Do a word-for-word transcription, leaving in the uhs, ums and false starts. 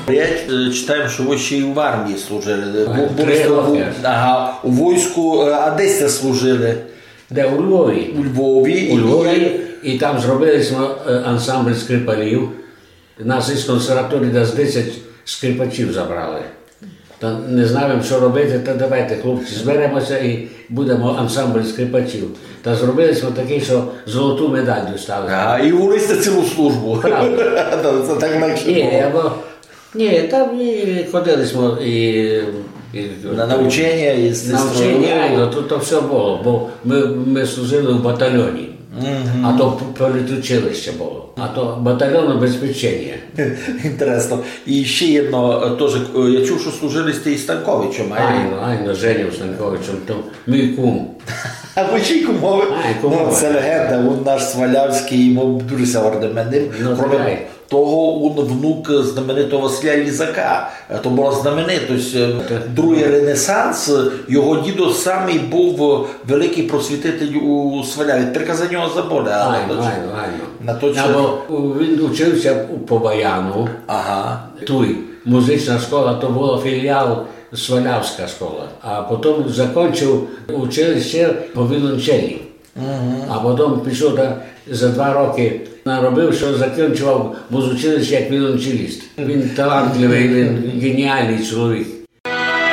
Я е, читав, што вы ще й у армії служили. Бу- були Три сте у- роки. Ага, у войску, е, а де сте служили? Де? У Львові. У Львові. У Львові, і там зробили сьме е, ансамбль скрипалів. Нас із консерваторії десь десять скрипачів забрали. Та не знаєме, што робити, та давайте, хлопці, зберемося і будемо ансамбль скрипачів. Та зробили сьме такый, што золоту медаль достали. Ага, і вели сте цілу службу. Правда. Та це так легше Ні, було. Або, ні, там і ходили сьме і, і На навчання, і з- навчання, стройовою. Айно, то, то всьо було, бо мы, мы служили в батальйоні. А то п- політучилище було. А то батальйон обезпечення. Інтересно. І ще єдно, е, тоже, е, я чув, што служили сте із Станковичем, а? Айно, айно, Женю Станковичем, то мій кум. А вы ще й кумові? Ай, кумові. Ну, це легенда, він наш свалявськый, йому дуже ся гордиме ним. Ну, Кроме так. того, він внук знаменитого Василя Лізака. Е, То була знаменитость, е, другый ренесанс. Його дідо самый быв великый просвітитель у Сваляві. Тепер за нього забыли, але Айно, точно. Айно, айно. На то Або у- він учився у- по баяну. Ага. Туй музична школа, то була філіал Свалявська школа. А потім закончив училище по віолончелі. А потім пішов та, за два роки наробив, што закончував музучилище як віолончеліст. Він талантливый, він геніалный чоловік.